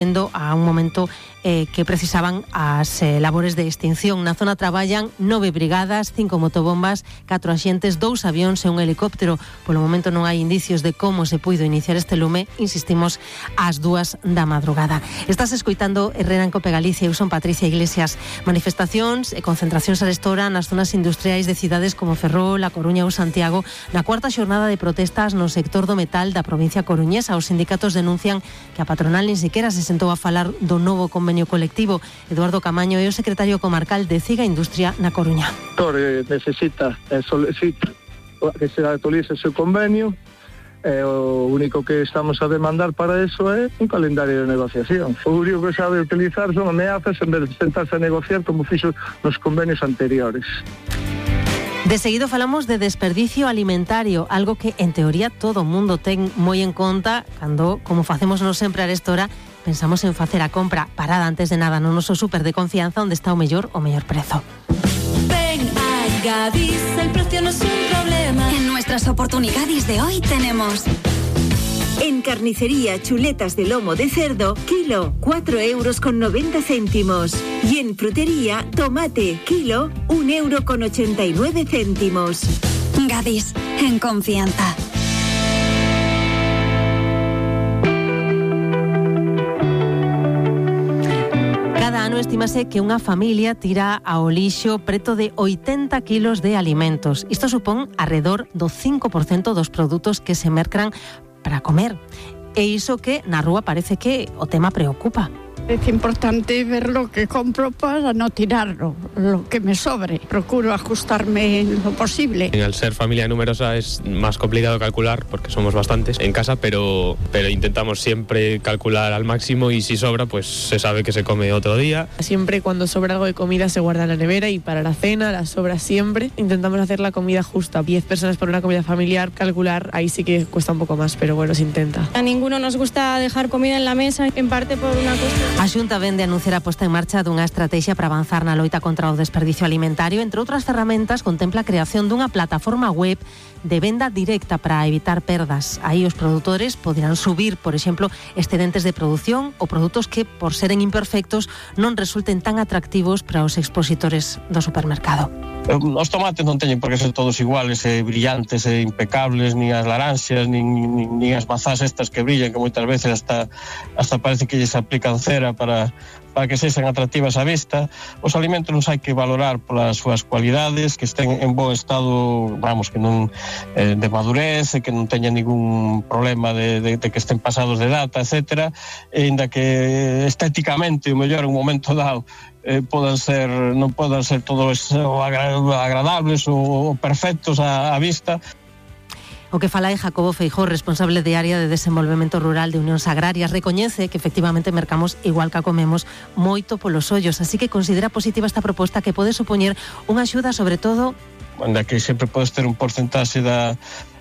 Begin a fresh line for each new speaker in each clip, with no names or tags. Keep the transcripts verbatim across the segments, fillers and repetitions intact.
a un momento eh, que precisaban as eh, labores de extinción. Na zona traballan nove brigadas, cinco motobombas, catro axentes, dous avións e un helicóptero. Polo momento non hai indicios de como se puido iniciar este lume, insistimos, ás dúas da madrugada. Estás escoitando Herrera en Cope Galicia, eu son Patricia Iglesias. Manifestacións e concentracións arestora nas zonas industriais de cidades como Ferrol, A Coruña ou Santiago, na cuarta xornada de protestas no sector do metal da provincia coruñesa. Os sindicatos denuncian que a patronal nin sequera se sentou a falar do novo convenio colectivo. Eduardo Camaño é o secretario comarcal de Ciga Industria na Coruña.
Eh, necesita eh, solicita que se actualice ese convenio. Eh, o único que estamos a demandar para eso é un calendario de negociación. O único que sabe utilizar son ameazas en vez de sentarse a negociar como fixo nos convenios anteriores.
De seguido falamos de desperdicio alimentario, algo que en teoría todo o mundo ten moi en conta cando, como facemos nos sempre a arestora, pensamos en facer a compra parada antes de nada no noso súper de confianza onde está o mellor o mellor prezo.
Ven a Gadis, el precio no es un problema.
En nuestras oportunidades de hoy tenemos...
En carnicería, chuletas de lomo de cerdo, kilo, cuatro euros con noventa céntimos. Y en frutería, tomate, kilo, un euro con ochenta y nueve céntimos.
Gadis, en confianza.
Cada ano estímase que unha familia tira ao lixo preto de oitenta kilos de alimentos. Isto supón arredor do cinco por cento dos produtos que se mercan para comer. E iso que na rúa parece que o tema preocupa.
Es importante ver lo que compro para no tirarlo, lo que me sobre. Procuro ajustarme en lo posible.
Al ser familia numerosa es más complicado calcular porque somos bastantes en casa, pero, pero intentamos siempre calcular al máximo y si sobra, pues se sabe que se come otro día.
Siempre cuando sobra algo de comida se guarda en la nevera y para la cena, la sobra siempre. Intentamos hacer la comida justa. diez personas por una comida familiar, calcular, ahí sí que cuesta un poco más, pero bueno, se intenta.
A ninguno nos gusta dejar comida en la mesa, en parte por una cuestión.
A Xunta vén de anunciar a posta en marcha dunha estrategia para avanzar na loita contra o desperdicio alimentario. Entre outras ferramentas, contempla a creación dunha plataforma web de venda directa para evitar perdas. Aí os produtores poderán subir, por exemplo, excedentes de produción ou produtos que, por seren imperfectos, non resulten tan atractivos para os expositores do supermercado.
Os tomates non teñen por que ser todos iguales, e brillantes e impecables, nin as laranxas, nin, nin, nin as mazás estas que brillan, que moitas veces hasta, hasta parece que lles aplican cera para, para que sexan atractivas á vista. Os alimentos non hai que valorar polas súas cualidades, que estén en bo estado, vamos, que non eh, de madurez, que non teñan ningún problema de, de, de que estén pasados de data, etcétera, e inda que estéticamente, o mellor, en un momento dado, Eh, podan ser, non podan ser todos o agra- agradables ou perfectos á, á vista.
O que fala é Jacobo Feijóo, responsable de área de desenvolvemento rural de Unións Agrarias. Recoñece que efectivamente mercamos igual que a comemos moito polos ollos, así que considera positiva esta proposta que pode supoñer unha axuda sobre todo...
Anda que sempre podes ter un porcentaxe da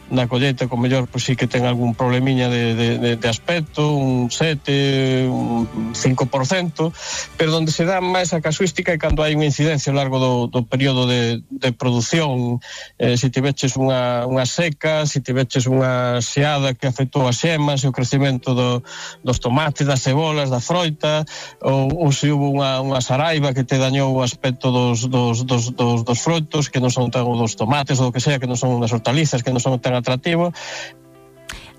na colleita, con mellor, pois sí que ten algún problemiña de, de, de, de aspecto, un sete, un cinco por cento, pero onde se dá máis a casuística é cando hai unha incidencia ao largo do, do período de, de produción. Eh, se tiveches unha, unha seca, se tiveches unha xeada que afectou as xemas e o crecemento do, dos tomates, das cebolas, da froita, ou, ou se hubo unha, unha saraiva que te dañou o aspecto dos, dos, dos, dos, dos froitos, que non son tan dos tomates ou o que sea, que non son das hortalizas, que non son tan atractivo.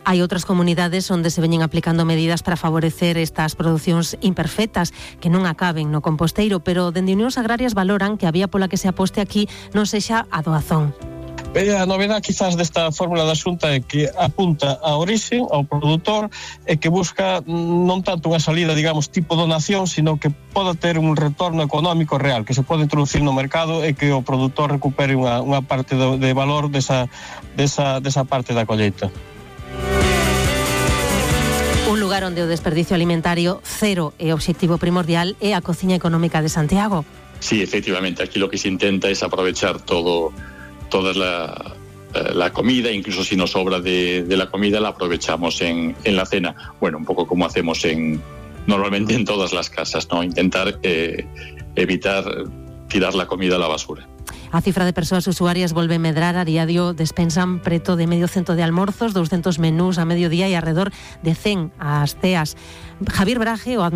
Hai outras comunidades onde se veñen aplicando medidas para favorecer estas producións imperfectas que non acaben no composteiro, pero dende Unións Agrarias valoran que a vía pola que se aposte aquí non sexa a doazón.
A novedade quizás desta fórmula da Xunta é que apunta a orixe, ao produtor, e que busca non tanto unha salida, digamos, tipo donación, sino que poda ter un retorno económico real, que se pode introducir no mercado e que o produtor recupere unha, unha parte de, de valor desa, desa, desa parte da colleita.
Un lugar onde o desperdicio alimentario cero é o obxectivo primordial é a Cociña Económica de Santiago.
Sí, efectivamente, aquí lo que se intenta es aprovechar todo toda la, la comida, incluso si nos sobra de, de la comida la aprovechamos en, en la cena. Bueno, un poco como hacemos en normalmente en todas las casas, ¿no? Intentar eh, evitar tirar la comida a la basura.
A cifra de persoas usuarias volve medrar. A diario despensan preto de medio cento de almorzos, doscientos menús a mediodía e alrededor de cen ás ceas. Javier Braje, o